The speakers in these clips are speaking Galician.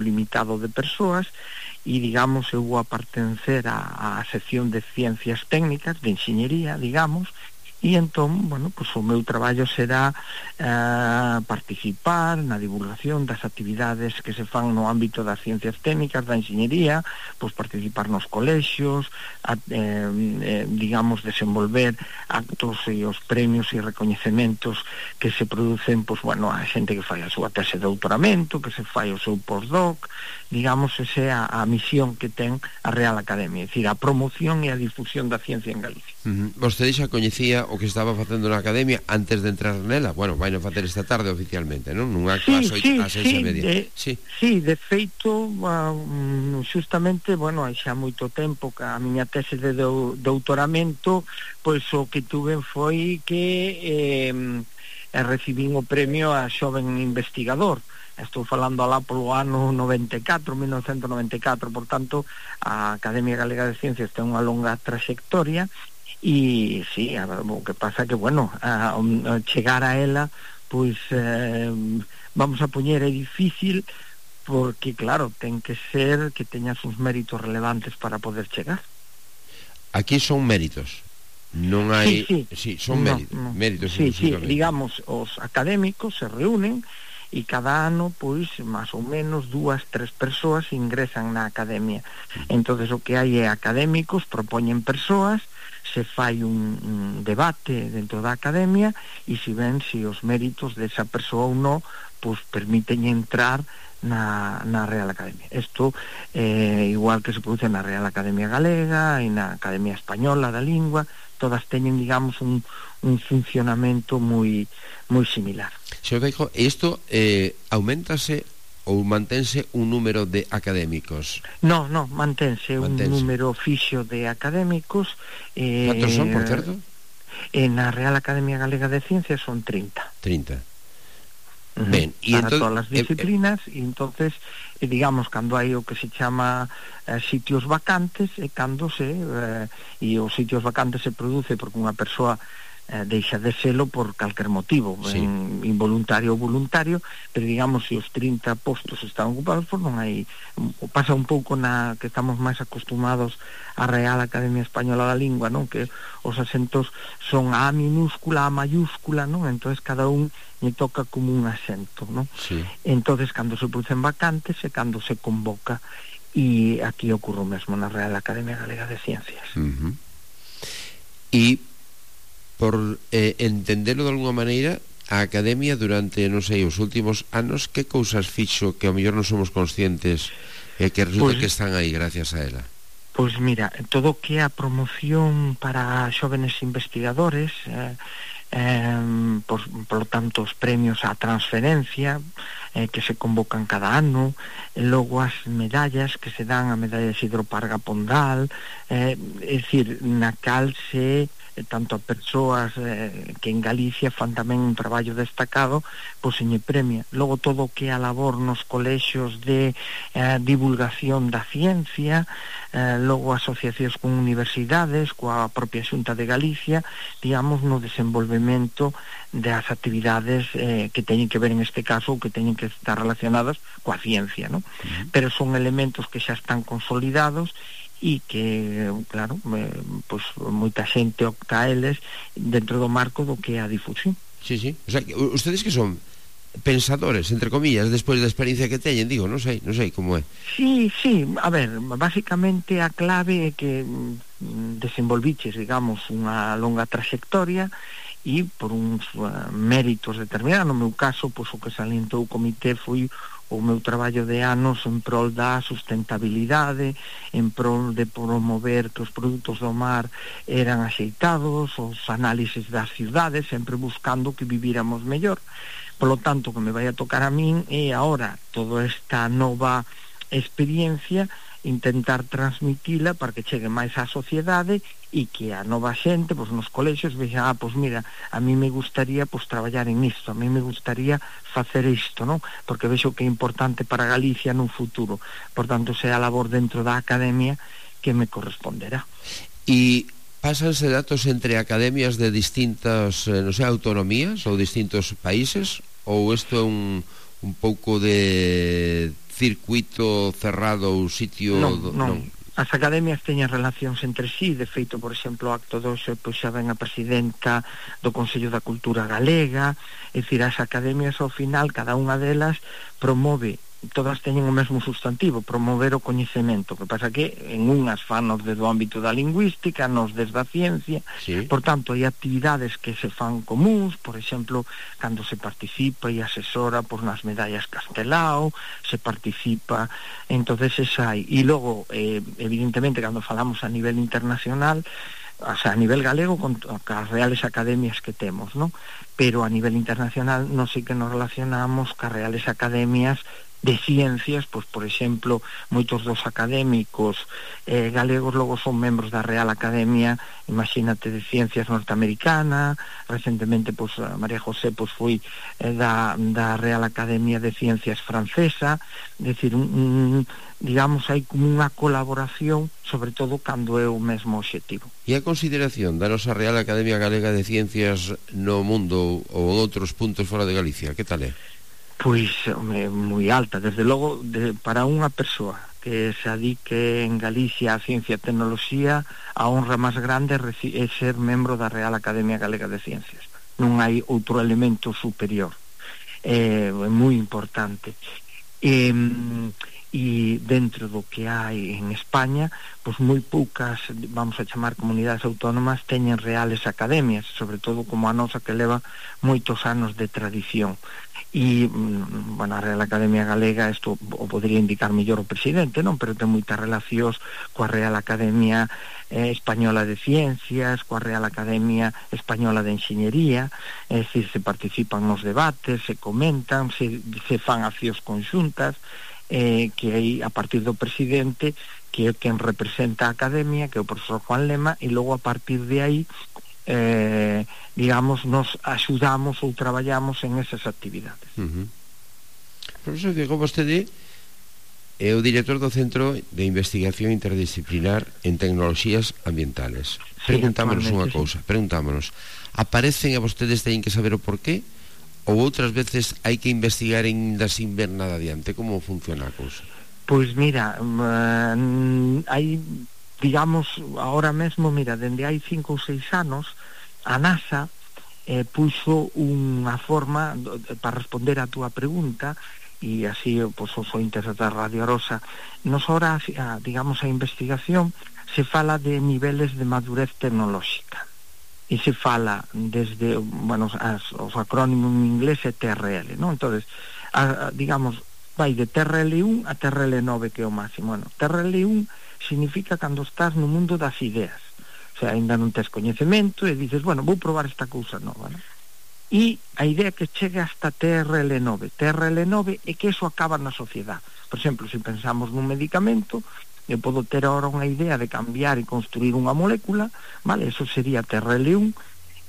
limitado de persoas, e, digamos, eu vou a pertencer á sección de ciencias técnicas, de enxeñería, digamos, e entón, bueno, pues o meu traballo será participar na divulgación das actividades que se fan no ámbito das ciencias técnicas, da enxeñería, pues participar nos colexios, digamos, desenvolver actos e os premios e recoñecementos que se producen, pues, bueno, a xente que fai a súa tese de doutoramento, que se fai o seu postdoc, digamos, esa é a misión que ten a Real Academia, é dicir, a promoción e a difusión da ciencia en Galicia. Vostede xa coñecía o que estaba facendo na Academia antes de entrar nela? Bueno, vai non facer esta tarde oficialmente, non? Nunha clase ás 6:30. Sí, de feito, justamente, bueno, hai xa moito tempo que a miña tese de doutoramento, pois o que tuve foi que recibín o premio a xoven investigador. Estou falando alá polo ano 1994, por tanto, a Academia Galega de Ciencias ten unha longa traxectoria. E sí, o que pasa que, bueno, chegar a ela, pois vamos a poñer, é difícil, porque claro, ten que ser que teñas uns méritos relevantes para poder chegar. Aquí son méritos, non hai... Sí, son méritos. Sí, digamos, os académicos se reúnen e cada ano, pois, máis ou menos 2-3 persoas ingresan na academia. Entonces o que hai é académicos, propoñen persoas, se fai un debate dentro da academia e se ven se os méritos desa persoa ou non, pois permiten entrar na Real Academia. Isto igual que se produce na Real Academia Galega e na Academia Española da Lingua, todas teñen, digamos, un funcionamento moi similar. Señor Feijóo, isto aumentase ou mantense un número de académicos? No, mantense un número fixo de académicos. Cantos son, por certo? Na Real Academia Galega de Ciencias son 30. Ben, para todas as disciplinas, e entonces, digamos, cando hai o que se chama sitios vacantes, e cando e os sitios vacantes se produce porque unha persoa deixa de selo por calquer motivo, involuntario ou voluntario, pero digamos, se os 30 postos están ocupados, pois non hai, pasa un pouco na que estamos máis acostumados á Real Academia Española da Lingua, non? Que os asentos son A minúscula, A mayúscula, non? Entonces cada un lle toca como un asento, non? Entonces cando se producen vacantes é cando se convoca, e aquí ocorre o mesmo na Real Academia Galega de Ciencias. E por entendelo de alguna maneira, a Academia durante, non sei, os últimos anos, que cousas fixo que ao mellor non somos conscientes que resulta que están aí gracias a ela? Pois mira, todo o que é a promoción para xóvenes investigadores, por lo tanto os premios á transferencia que se convocan cada ano, logo as medallas que se dan, a medalla de Isidro Parga Pondal, é dicir, na cal se tanto a persoas que en Galicia fan tamén un traballo destacado, pois se lle premia. Logo todo o que é a labor nos colexios de divulgación da ciencia, logo asociacións con universidades, coa propia Xunta de Galicia, digamos, no desenvolvemento das actividades que teñen que ver en este caso, ou que teñen que estar relacionadas coa ciencia, non? Pero son elementos que xa están consolidados e que, claro, pois moita xente opta a eles dentro do marco do que é a difusión. Sí, o sea, ustedes que son pensadores, entre comillas, despois da experiencia que teñen, digo, non sei como é. Sí, a ver, basicamente a clave é que desenvolviches, digamos, unha longa traxectoria e por uns méritos determinados. No meu caso, pois o que salientou o comité foi o meu traballo de anos en prol da sustentabilidade, en prol de promover que os produtos do mar eran axeitados, os análises das cidades, sempre buscando que vivíramos mellor. Polo tanto, que me vai a tocar a min é agora toda esta nova experiencia, intentar transmitila para que chegue máis á sociedade e que a nova xente, pois nos colexios vexa, pois mira, a mí me gustaría pois traballar en isto, a mí me gustaría facer isto, non? Porque vexo que é importante para Galicia nun futuro. Por tanto, sea a labor dentro da academia que me corresponderá. E pásanse datos entre academias de distintas, non sei, autonomías ou distintos países, ou isto é un pouco de circuito cerrado ou sitio... Non. As academias teñen relacións entre sí. De feito, por exemplo, o acto 2 pois xa ven a presidenta do Consello da Cultura Galega. É dicir, as academias ao final, cada unha delas promove, todas teñen o mesmo sustantivo, promover o coñecemento. Que pasa que en unhas fanos desde o ámbito da lingüística, nos desde a ciencia. Sí. Por tanto, hai actividades que se fan comuns, por exemplo, cando se participa e asesora por nas medallas Castelao, se participa, entonces esa hai. E logo, evidentemente, cando falamos a nivel internacional, o sea, a nivel galego con as reales academias que temos, ¿no? Pero a nivel internacional non sei que nos relacionamos cas reales academias de ciencias, pois, por exemplo, moitos dos académicos galegos logo son membros da Real Academia, imagínate, de Ciencias norteamericana. Recentemente, pois, María José pois foi da Real Academia de Ciencias francesa. É dicir, digamos, hai como unha colaboración, sobre todo cando é o mesmo obxectivo. E a consideración da nosa Real Academia Galega de Ciencias no mundo ou en outros puntos fora de Galicia, que tal é? Pois, moi alta, desde logo, para unha persoa que se adique en Galicia a ciencia e tecnoloxía, a honra máis grande é ser membro da Real Academia Galega de Ciencias. Non hai outro elemento superior. É moi importante. E dentro do que hai en España, pois moi poucas, vamos a chamar, comunidades autónomas teñen reales academias, sobre todo como a nosa, que leva moitos anos de tradición. E, bueno, a Real Academia Galega, isto o podría indicar mellor o presidente, non? Pero ten moitas relacións coa Real Academia Española de Ciencias, coa Real Academia Española de Enxeñería. É dicir, se participan nos debates, se comentan, se fan accións conxuntas, que aí, a partir do presidente, que é quen representa a academia, que é o profesor Juan Lema, e logo a partir de aí, digamos, nos axudamos ou traballamos en esas actividades. Profesor, que como vostede é o director do Centro de Investigación Interdisciplinar en Tecnoloxías Ambientales. Sí, preguntámonos unha cousa, preguntámonos, aparecen a vostedes teñen que saber o porqué, ou outras veces hai que investigar ainda sin ver nada adiante? Como funciona a cousa? Pois mira, hai, digamos, ahora mesmo, mira, dende hai 5 ou 6 anos, a NASA puxo unha forma para responder a túa pregunta, e así, pois, os ointes da Radio Arosa. Nos ahora, digamos, a investigación se fala de niveles de madurez tecnolóxica, e se fala desde, bueno, os acrónimos en inglés é TRL, non? Entonces, digamos, vai de TRL1 a TRL9, que é o máximo. Bueno, TRL1 significa cando estás no mundo das ideas, o sea, ainda non tes coñecemento e dices, bueno, vou probar esta cousa nova, non? E a idea que chega hasta TRL9 é que eso acaba na sociedade. Por exemplo, se pensamos nun medicamento, eu podo ter ahora unha idea de cambiar e construir unha molécula, vale, eso sería TRL1,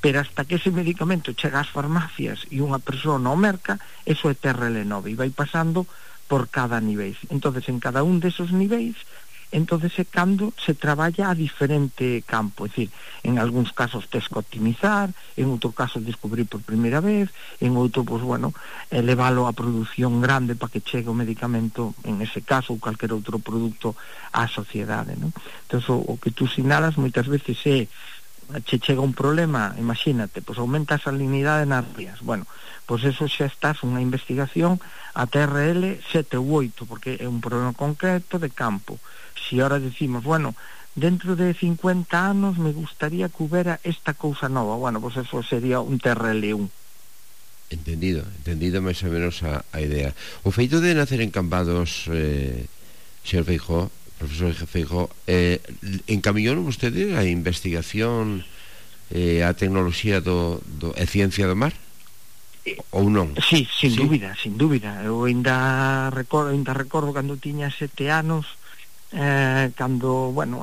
pero hasta que ese medicamento chega ás farmacias e unha persoa o merca, eso é TRL9, e vai pasando por cada nivel. Entonces, en cada un desos niveis, entonces é cando se traballa a diferente campo, é dicir, en algúns casos tes que optimizar, en outro caso descubrir por primeira vez, en outro, pois, bueno, elevalo a produción grande para que chegue o medicamento, en ese caso, ou calquer outro produto á sociedade, non? Entón, o que tú sinalas moitas veces é, che chega un problema, imagínate, pois aumenta a salinidade nas rías, bueno, pois eso xa estás unha investigación a TRL 7 ou 8, porque é un problema concreto de campo. Si ahora decimos, bueno, dentro de 50 anos me gustaría que hubiera esta cousa nova, bueno, pues eso sería un TRL1. Entendido máis ou menos a idea. O feito de nacer en Cambados, señor Feijóo, profesor Feijóo, encamiñou vostede a investigación, a tecnoloxía e ciencia do mar? Ou non? Sí, sin dúbida. Eu ainda recordo cando tiña 7 anos, cando, bueno,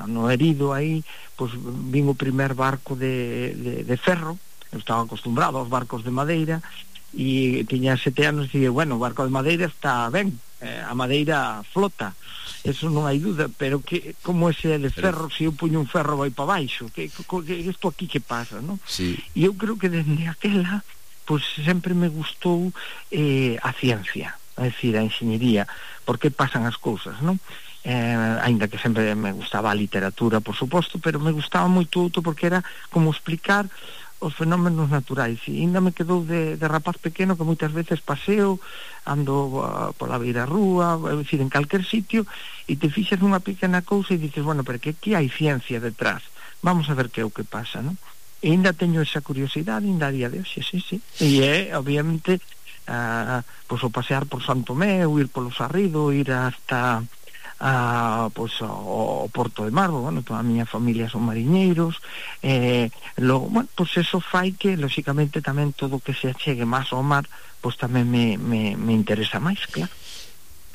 no herido aí, pois vin o primer barco de ferro. Eu estaba acostumbrado aos barcos de madeira e tiña 7 anos e dije, bueno, o barco de madeira está ben, a madeira flota, eso non hai duda, pero que como ese de ferro, se eu puño un ferro vai para baixo, que isto aquí que pasa, non? Sí. E eu creo que dende aquela, pois sempre me gustou a ciencia. a decir, a enxeñería, por que pasan as cousas, non? Ainda que sempre me gustaba a literatura, por suposto, pero me gustaba moito outro porque era como explicar os fenómenos naturais, e ainda me quedou de rapaz pequeno que moitas veces paseo, ando pola beira rúa, é dicir, en calquer sitio, e te fixas nunha pequena cousa e dices, bueno, pero que aquí hai ciencia detrás, vamos a ver que é o que pasa, non? E ainda teño esa curiosidade ainda a día de hoxe, sí. E obviamente, pois o pasear por Santo Tomé, ou ir polo Sarrido, ir hasta pois o Porto de Marbo, bueno, toda a miña familia son mariñeiros, bueno, pois eso fai que, lóxicamente, tamén todo o que se achegue máis ao mar, pois tamén me interesa máis, claro.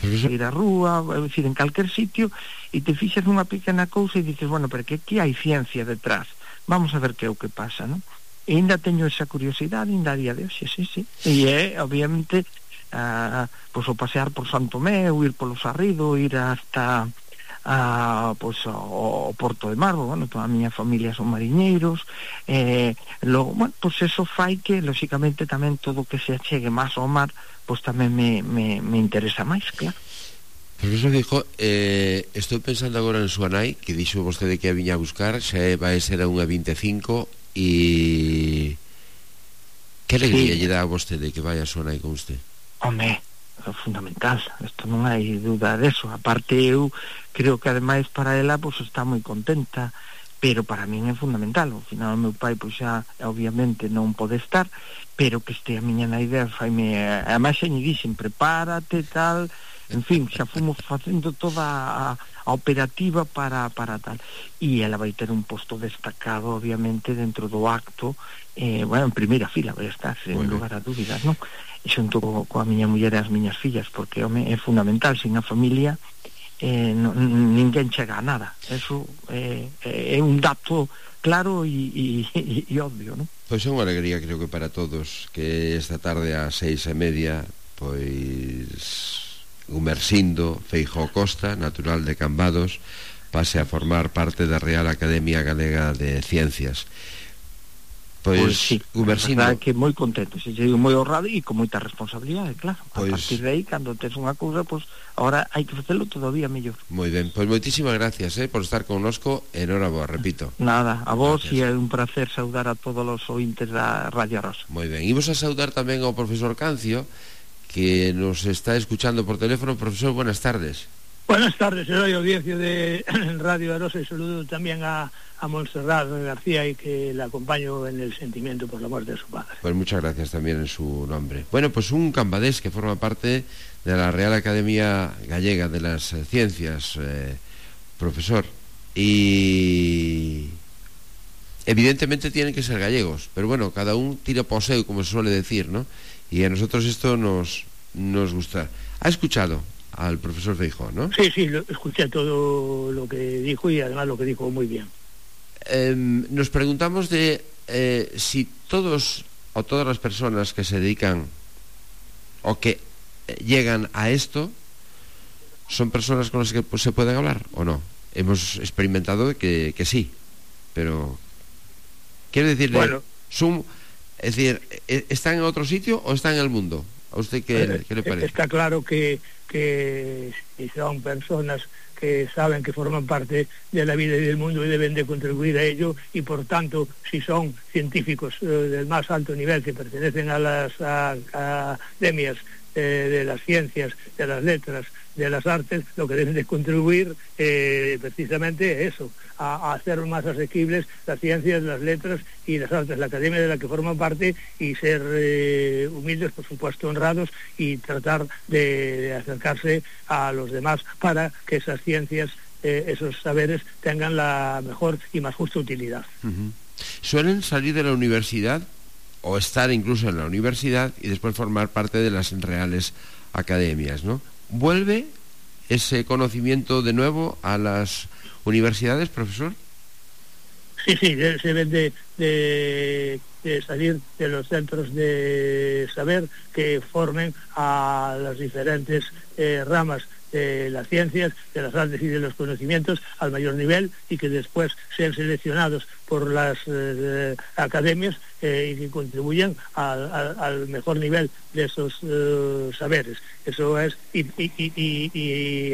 Ir á rúa, é dicir, en calquer sitio, e te fixas nunha pequena cousa e dices, bueno, pero que aquí hai ciencia detrás, vamos a ver que é o que pasa, non? E ainda teño esa curiosidade ainda a día de hoxe, sí. E obviamente, pois o pasear por Santo Tomé, ou ir polo Sarrido, ir hasta pois o Porto de Marbo, bueno, toda a miña familia son mariñeiros, bueno, pois eso fai que, lóxicamente, tamén todo o que se achegue máis ao mar, pois tamén me interesa máis, claro. Profesor Feijóo, estou pensando agora en súa nai, que dixo vostede que a viña a buscar, xa vai ser a unha 25, e que alegría lle dá a vostede que vai a súa nai con usted? Home, é fundamental, isto non hai dúda deso. Aparte, eu creo que ademais para ela pois está moi contenta, pero para min é fundamental. Ao final o meu pai pois xa obviamente non pode estar, pero que este a miña na idea faime, ademais xa lle dixen, prepárate tal, en fin, xa fomos facendo toda a operativa para tal, e ela vai ter un posto destacado obviamente dentro do acto, bueno, en primeira fila vai estar, sen lugar a dúbidas, non? E xunto coa miña muller e as miñas fillas, porque home, é fundamental, sin a familia ninguén chega a nada. Eso é un dato claro e obvio, non? Pois é unha alegría, creo que para todos, que esta tarde ás 6:30 pois Gumersindo Feijóo Costa, natural de Cambados, pase a formar parte da Real Academia Galega de Ciencias. Pois sí, Gumersindo, a verdade que moi contento, se digo moi honrado e con moita responsabilidade, claro. A partir de aí, cando tes unha cousa, pois agora hai que facelo todavía mellor. Moi ben, pois moitísimas gracias por estar connosco, enhoraboa, repito. Nada, a vos, e é un placer saudar a todos os ointes da Radio Rosa. Moi ben, imos a saudar tamén ao profesor Cancio, que nos está escuchando por teléfono. Profesor, buenas tardes. Buenas tardes, soy audiencia de Radio Arosa, y saludo también a Montserrat García, y que la acompaño en el sentimiento por la muerte de su padre. Pues muchas gracias también en su nombre. Bueno, pues un cambadés que forma parte de la Real Academia Gallega de las Ciencias, profesor, y evidentemente tienen que ser gallegos, pero bueno, cada un tira poseo, como se suele decir, ¿no? Y a nosotros esto nos gusta. ¿Ha escuchado al profesor Feijóo, no? Sí, escuché todo lo que dijo, y además lo que dijo muy bien. Nos preguntamos de si todos o todas las personas que se dedican o que llegan a esto son personas con las que pues, se pueden hablar o no. Hemos experimentado que sí, pero quiero decirle, bueno, es decir, ¿están en otro sitio o están en el mundo? ¿A usted qué le parece? Está claro que son personas que saben que forman parte de la vida y del mundo y deben de contribuir a ello, y por tanto, si son científicos del más alto nivel que pertenecen a las academias de las ciencias, de las letras, de las artes, lo que deben de contribuir precisamente eso, a hacer más asequibles las ciencias, las letras y las artes, la academia de la que forman parte, y ser humildes, por supuesto honrados, y tratar de acercarse a los demás para que esas ciencias, esos saberes tengan la mejor y más justa utilidad. ¿Suelen salir de la universidad o estar incluso en la universidad y después formar parte de las reales academias, ¿no? ¿Vuelve ese conocimiento de nuevo a las universidades, profesor? Sí, se deben de salir de los centros de saber que formen a las diferentes ramas de las ciencias, de las artes y de los conocimientos al mayor nivel, y que después sean seleccionados por las academias y que contribuyan al mejor nivel de esos saberes. Eso es, y